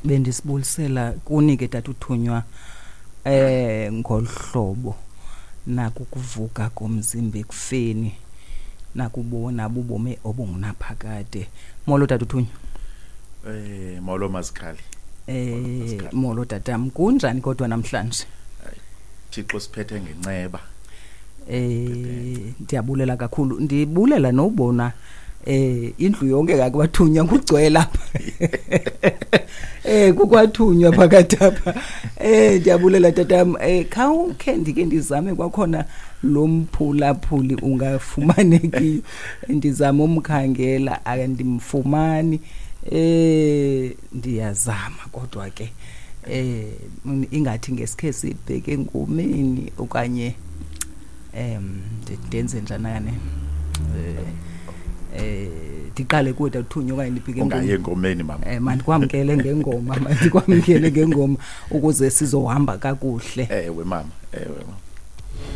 Bendisibulisela kuni ke tata uthunywa ngolu hlobo nakukuvuka komzimba ekufeni, nakubona bubomi obungunaphakade. Molo tata uthunywa. Molo Mazikhali. Molo tatam, kunjani kodwa namhlanje? Thixo siphethe ngenceba. Ndiyabulela kakhulu, ndibulela nobona indlu yonke kakwathunywa kugcwele apha. Kukwathunywa phakathi apha. Ndiyabulela tatam. Khawukhe ndike ndizame kwakhona lo mphulaphuli ungafumanekiyo. Ndizama umkhangela andimfumani. Ndiyazama kodwa ke ingathi ngesikhe sibheke engomeni okanye ndenze njani kane? Ndiqale kuwe tathunywa okanye ndibheke Ungayi engomeni mama. Mandikwamkele ngengoma, mandikwamkele ngengoma ukuze sizohamba kakuhle. Ewe mama.